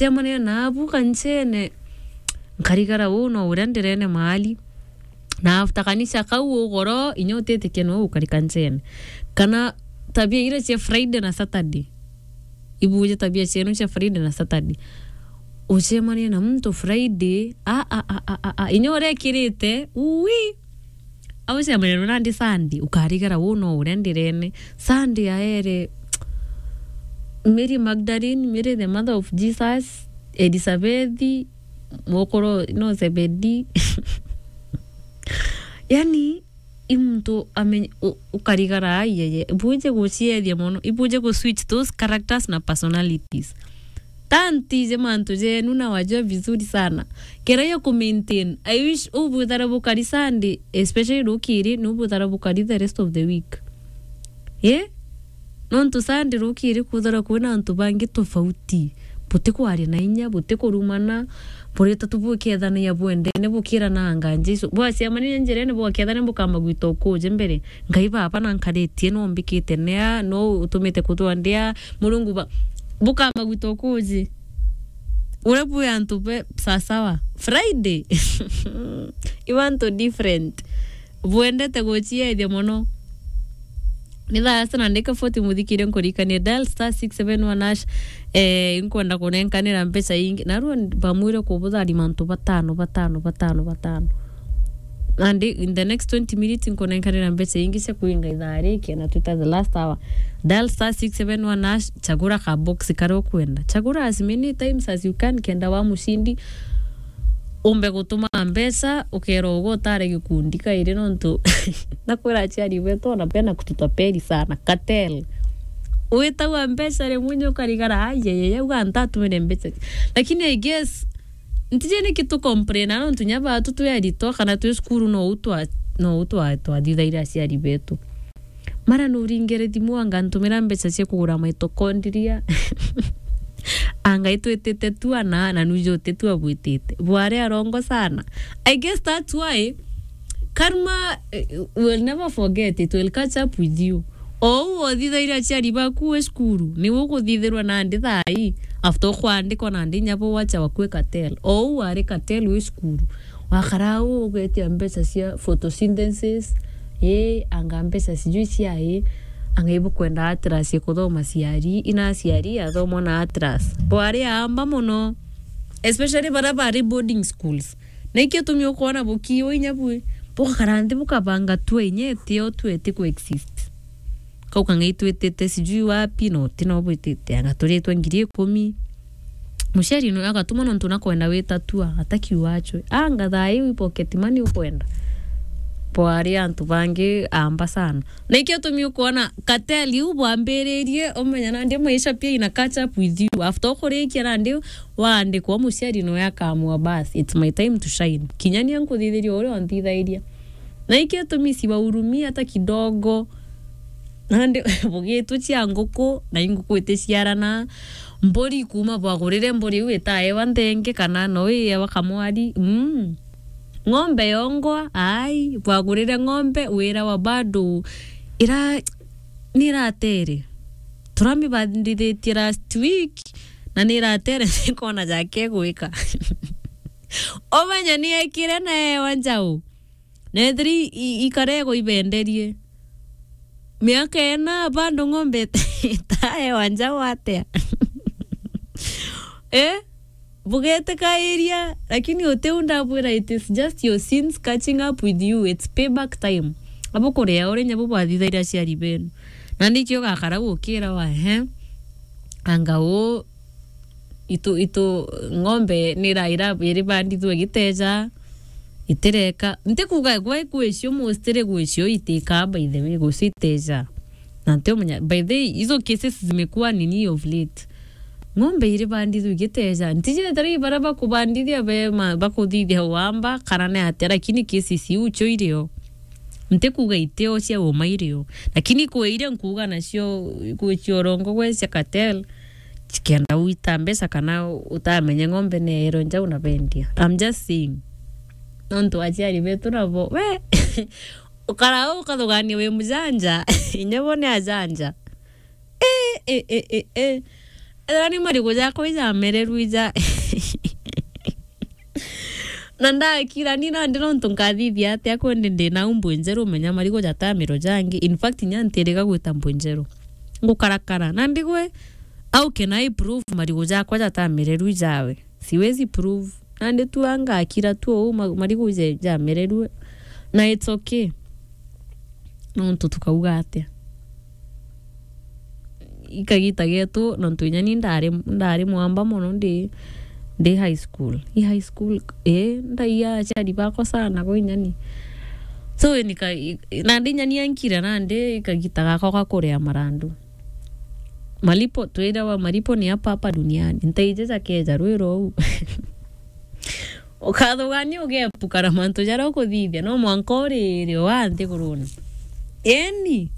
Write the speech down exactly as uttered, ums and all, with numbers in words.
Temanira naabu kanchene, nkarigara uu no uria ndirene maali. Na after kanisa kau ugoro, inya utitikia no ukarika nchene. Kana tabia iria cia Friday na Saturday. Ibuje tabia cienu cia Friday na Saturday. Ucemanie na muntu Friday, a, a, a, a, a, a, inya urekirite, ui. Aucemania nandi Sunday, ukarigara uu no uria ndirene. Sunday aere, Mary Magdalene, Mary the mother of Jesus, Elizabeth, mukuru no Zebedi. Yani, i muntu amenye, u-, ukarigara, ai, ai, ai, ibuje guciethia mono, ibuje gu switch those characters na personalities. Tantije mantu jenu na wajua vizuri sana. Kera ya ku maintain, I wish ubwithara bukari Sunday, especially rukiri, ni ubwithara bukari the rest of the week. Eh? Nontu Sunday rukiri kwithirwa kwina antu bangi tofauti. Butikwaria na inya, butikurumana, burita tu bukethania bwendene, bukirana anga Jesu. Bwaciamanire njirene, bwakethania bukamba gwita ukuji mbere. Ngai baba na nkaritie no mbikite nea, no utumite kuthwa ndia, Murungu ba-, bukamba gwita ukuji. Uria bwi antu be sasawa. Friday. I want to different. Bwendete guciethia mono. Ni thaa sana ndika forty muthikire nkurikania dial star six seven one hash. Eh, nkwenda kunenkanira mbeca ingi. Narua bamwire kubuthari mantu batano, batano, batano, batano. And in the next twenty minutes nkunenkanira mbeca ingi cia kuinga ithaa riki na twita the last hour. Dial star six seven one hash, chagura ka box karia ukwenda. Chagura as many times as you can kenda wa mushindi. Umbe gutuma mbeca, ukera ugo utare gikundi kairi nontu nakwira aciari betu ona bena kututapeli sana. Cartel. Witagwa mbeca rimwe nyo ukarigara, "Ai, ai, ai, uga ntatumire mbeca." Lakini I guess, ntije niki tu complain, nontu nya batu twi aritwa kana twi cukuru no u twa-, no u twa-, twathithaira aciari betu. Mara nuringire thimu anga ntumira mbeca cia kugura mitochondria. Anga itwitite tu ana, na nuju utitu abwitite. Bwari arongo sana. I guess that's why karma, eh, will never forget, it will catch up with you. Ou othithaira aciari baku wi cukuru, niu ukuthithirwa nandi thaa ii, after ukwandikwa nandi inya bo wacha wakue cartel. Ou wari cartel wi cukuru. Wakara uu ugetia mbeca cia photosynthesis, ii, anga mbeca sijui cia ii, anga ibukwenda Atlas ikuthoma ciari, ina ciari athomwa na Atlas. Bwari aamba mono, especially baria bari boarding schools. Na ikio tumi ukwona bukiwa inya bwi, bugakara nthi bukabanga tua inya itio tua iti ku exist. Kau kang'ai twitite sijui wapi, no ti no bwitite, anga turitwe ngiri ikumi. Muciari no agatuma nontu nakwenda wita tua, atakiuga acwe. Anga thaa iu i pocket money ukwenda? Bwari antu bangi amba sana. Na ikio tumi ukwona cartel iu bwambiririe, umenya nandi maisha pia ina catch up with you. After ukurikia nandi waandikwa, muciari noe akamua, "Bas, it's my time to shine. Kinya nia nkuthithiria uria unthithairia." Na ikio tumi siwahurumii hata kidogo. Nandi bugitwe cia nguku, na inguku iticiarana. Mburi kuma bwagurire mburi iu itaewa nthenge kana no iewa kamwari. Mm. Ng'ombe yongwa, ai, bwagurire ng'ombe, wira wa bado ira-, niratere. Turamibandithitie last week, na niratere, ndikona jake gwika. Omenya niekire na ewa njau. Na ethiri i-, i-, ikarego ibenderie. Miaka ena bado ng'ombe itaewa njau atia? Eh? Bugetikairia, lakini utiu ndabwira, it is just your sins catching up with you. It's payback time. Abukuria uria nyabu bwathithaira aciari benu. Na nikio ugakara gukira wa, ehe. Anga uu, itu, itu, ng'ombe nira-, ira-, iribandithua igiteja, itireka. Ntikuga gwe gwicio, mostly gwicio itikaa, by the way, gwicio iteja. Na ntiumenya, by the way, hizo cases zimekuwa nini of late. Ng'ombe iribandithua igiteja. Ntiji etera i baria bakubandithia be ma-, bakuthithia uamba, kana ni atia, lakini cases iu cio irio. Ntikuga itio cia uma irio. Lakini kwi iria nkuga nacio, gwicio urongo gwe cia cartel, Cikienda gwita mbeca kana utamenya ng'ombe ni yairwe njau na bendia. I'm just saying. Nontu aciari betu nabo, we, ukara u ukathugania wi mujanja, inya bo ni ajanja. Eh, eh, eh, eh, eh. Ethira ni marigu jakwa ijamereru ija. Na ndakira ni nandi nontu nkathithia atia kwendi ndi na umbu njeru, menya marigu jatamiro jangi. In fact, inya ntiriga gwita mbu njeru. Ngukarakara. Nandi gwe, how can I prove marigu jakwa jatamereru ijawe? Siwezi prove. Nandi tu angakira tu uu ma-, marigu je-, jamereru. Na it's okay. Nontu tukauga atia? Ikagita getu, nontu inya ni ndari, ndari mwamba mono ndi, ndi high school. I high school, ii, ndaia aciari bakwa sana gwe inya ni. So, nika-, i-, nandi inya ni ankira nandi ikagita gakwa ga kuria marandu. Malipo, twirawa malipo ni hapa hapa duniani. Ntaije jakeja rwiro uu. Ukathugania ugepuka na mantu jaria ukuthithia, no mwanka urire wa nthigurune. Eni,